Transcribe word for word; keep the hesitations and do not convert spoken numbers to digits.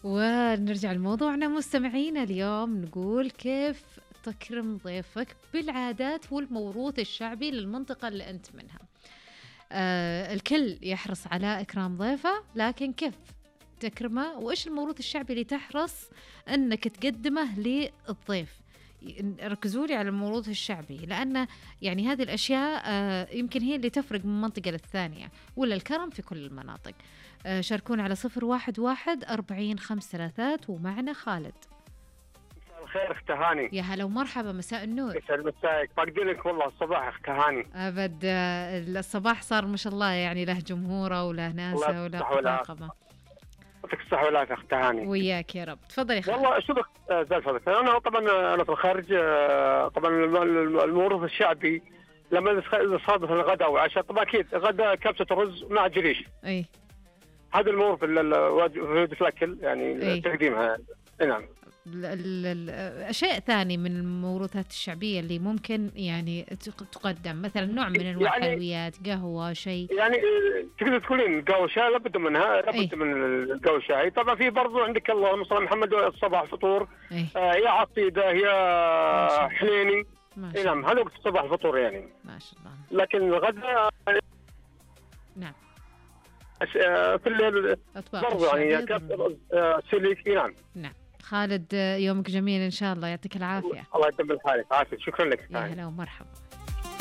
ونرجع لموضوعنا مستمعينا اليوم، نقول كيف تكرم ضيفك بالعادات والموروث الشعبي للمنطقة اللي أنت منها. آه الكل يحرص على إكرام ضيفه، لكن كيف تكرمه وإيش الموروث الشعبي اللي تحرص أنك تقدمه للضيف؟ ركزوا لي على الموروث الشعبي، لأن يعني هذه الأشياء آه يمكن هي اللي تفرق من منطقة للثانية، ولا الكرم في كل المناطق. آه شاركونا على صفر واحد واحد أربعين خمس ثلاثات. ومعنا خالد. مساء الخير اخت هاني. يا هلا ومرحبا، مساء النور. يسعد مساك، فاقدينك والله الصباح اخت هاني. أبد آه الصباح صار ما شاء الله يعني له جمهوره وله ناسه وله طاقمه. يعطيك الصحة والعافية اخت هاني. وياك يا رب. تفضلي يا خالد. والله شوفك زي الفضل، انا طبعا انا في الخارج، طبعا الموروث الشعبي لما صادف الغداء والعشاء طبعا اكيد غداء كبسة الرز مع جريش. اي هذا الموروث في الاكل يعني تقديمها. نعم. أشياء ثانية من الموروثات الشعبية اللي ممكن يعني تقدم، مثلا نوع من أنواع الحلويات، يعني قهوة، شيء يعني تقدر تقولين قهوة شاي لابد منها، لابد من القهوة شاي. طبعا في برضو عندك اللهم صل على محمد الصباح فطور، آه يا عصيدة يا حليني. نعم هذا وقت الصباح الفطور يعني ما شاء الله. لكن الغداء نعم في الليل برضو يعني سليك. نعم. نعم. خالد يومك جميل إن شاء الله، يعطيك العافية. الله يدبر حالك. عافية. شكرا لك. يا هلا ومرحبا.